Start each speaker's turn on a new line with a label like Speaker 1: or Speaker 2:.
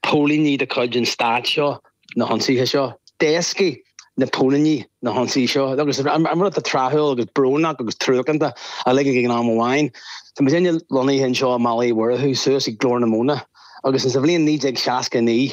Speaker 1: póilíní de chuid an stáit seo na hionsaithe seo. D'éascaigh na póilíní na hionsaithe seo agus an rud atá tráthúil agus brónach agus truacánta uilig ag an am amháin, tá muidinne lonnaithe anseo i mBaile Uí Mhurchú suas ag Glór na Móna agus sa bhliain 1969.